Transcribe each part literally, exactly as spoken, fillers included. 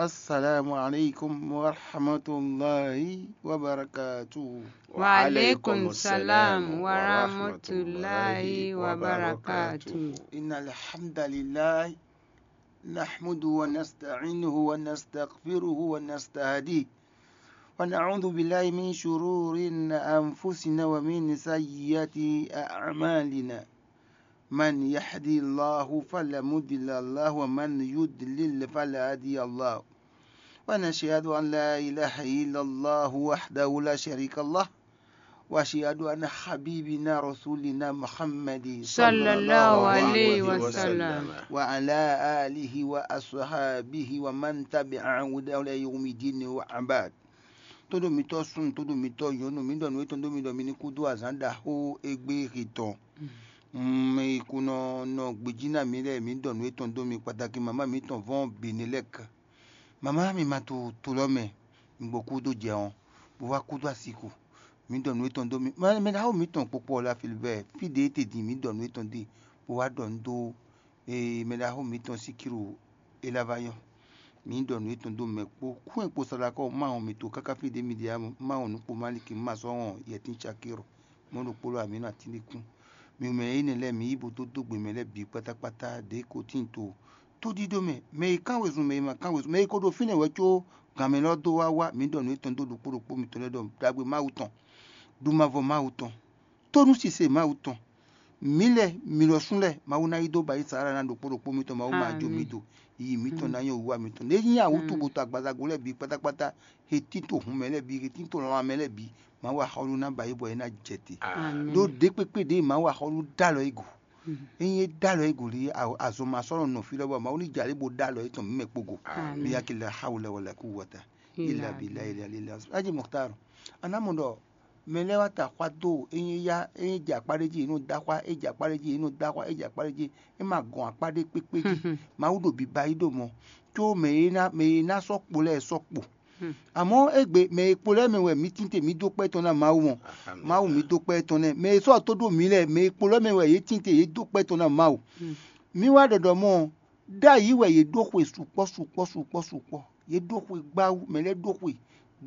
السلام عليكم ورحمة الله وبركاته. وعليكم السلام ورحمة الله وبركاته. إن الحمد لله نحمده ونستعينه ونستغفره ونستهديه، ونعوذ بالله من شرور أنفسنا ومن سيئات أعمالنا. من يهدي الله فلا مضل له ومن يضلل فلا هادي له. ونشهد أن لا إله إلا الله وحده لا شريك له، وأشهد أن حبيبنا رسولنا محمد صلى الله عليه وسلم. وعلى آله وأصحابه ومن تبع هداه إلى يوم الدين وبعد. Todo mitɔ sun, todo mitɔ yɔnu, mi ɖɔ nǔ etɔn dó mi ɖɔ mi ní kúdó azǎn ɖaxó égbé he tɔn. Mi kú nɔ nɔ gbějí ná mi lɛ́ɛ, mi ɖɔ nǔ etɔn dó mi kpataki mama mitɔn vɔn Benelɛk. Mama mi ma to to lɔ mɛ, mi gbɔ kúdó jɛ ɔn, bó wá kúdó asiku. Mi ɖɔ nǔ etɔn dó mi. Mɛ ɖaxó mitɔn kpokpo ɔ́ la Filibɛ́, fí ɖě e te din mi ɖɔ nǔ etɔn dé, bó wá ɖɔ nǔ dó mɛ ɖaxó mitɔn Sikiru é lá vá nyɔ́. Mi ɖɔ nǔ etɔn dó mɛ kpó kú e kpo Salakɔ ma wɔn mi to káká fí ɖě mi ɖe ǎ, ma wɔn nǔ kpo Maliki ma sɔ́ wɔn Yɛtín Cakiro mɔ̌ ɖokpó lɔ amǐ nɔ atín ɖé kún. Mi mɛ énɛ́ lɛ́ɛ mi yí bo dó dó gbe mɛ lɛ́ɛ bǐ kpátákpátá ɖě ko tíin to tóɖíɖó mɛ, mɛ e kán wezun, mɛ e ma kán wezun, mɛ e ko ɖo fínɛ́ wɛ có gan mɛ lɔ dó wá wá. Mi ɖɔ nǔ etɔn dó ɖokpó ɖokpó mitɔn lɛ́ɛ ɖɔ ɖagbe Mawu tɔn, ɖumavɔ Mawu tɔn, tónúsise Mawu tɔn. Mǐ lɛ́ɛ, mi lɔ sún lɛ́ɛ, Mawu ná yí dó ba yí Saala ná ɖokpó ɖokpó mitɔn, Mawu ma jó mi do, yiyi mitɔn ná nyɔ́ wiwa mitɔn. Lě nyí awǔtu bo to agbazago lɛ́ɛ bǐ kpátákpátá, he tín to hun mɛ lɛ́ɛ bǐ, he tín to lanmɛ lɛ́ɛ bǐ, Mawu axɔ́lú ná ba yí bɔ é ná jɛ te. Ɖó ɖě kpékpé ɖě Mawu axɔ́lú dó alɔ é go. Ényí é dó alɔ é go lě, azɔn ma sɔ́ nɔ nɔ fí lɔ bɔ Mawu ní jɛ alě bo dó alɔ étɔn mǐ mɛ kpó go. Bí akila hawla wala kuwata illa billahi ilali la. Aji Muxtar, a nǎ mɔ ɖɔ mɛ lɛ́ɛ wá ta xwá dó ényí é yá, ényí é jɛ akpá ɖé jí, é nɔ dó axwá, é jɛ akpá ɖé jí, é nɔ dó axwá, é jɛ akpá ɖé jí, é ma gɔn akpá ɖé kpékpé jí. Mawu ɖo biba yí ɖo mɔ, có mɛ e ná mɛ e ná sɔ́ kpo lɛ́ɛ sɔ́ kpo. Amɔ̌ égbé mɛ e kpo lɛ́ɛ mɛ wɛ mǐ tínte mǐ dó kpɛ́ tɔn ná Mawu mɔ. Mawu mǐ dó kpɛ́ tɔn nɛ́. Mɛ e sɔ́ tó ɖó mǐ lɛ́ɛ, mɛ e kpo lɛ́ɛ mɛ wɛ yě tínte yě dó kpɛ́ tɔn ná Mawu. Mǐ wá ɖɔ ɖɔ mɔ̌, ɖ'ayǐ wɛ yě ɖó xwe sukpɔ́ sukpɔ́ sukpɔ́ sukpɔ́. Yě ɖó xwe gbáwú, mɛ lɛ́ɛ ɖó xwe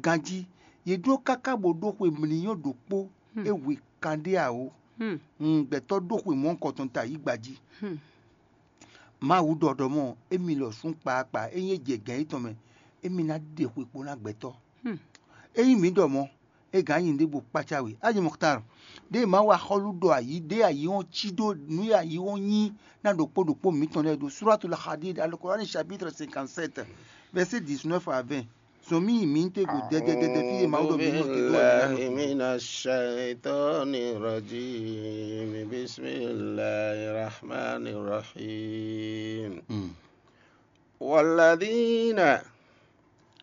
ganjí. Yě ɖó káká bó ɖó xwe mlǐnyɔ́ ɖokpó é hwe kanɖé awǒ. Gbɛtɔ́ ɖó xwe mɔ̌hunkɔtɔn ta yí gbají. Mawu ɖɔ ɖɔ mɔ̌, émí lɔ sún kpaakpa, ényí é jɛ gɛ̌n yětɔn mɛ, émí ná ɖe xwe kpo ná gbɛtɔ́. Ényí mǐ ɖɔ mɔ̌, é gǎn nyi ɖěbǔ kpácá we. Aji Muxtar, ɖěe Mawu axɔ́lú ɖɔ ayǐ, ɖěe ayǐ ɔ́ cí ɖó nǔ e ayǐ ɔ́ nyí ná ɖokpó ɖokpó mǐtɔn lɛ́ɛ ɖo Suratul Hadid, Al-Qur'an chapitre cinquante-sept, verset dix-neuf à vingt. Zɔn mì yi mǐ tɛ́ go dɛdɛdɛdɛ fí e Mawu ɖɔ mǐ nɔ te dó wɛ mǐ ná nɔ te. من الشيطان الرجيم. بسم الله الرحمن الرحيم. والذين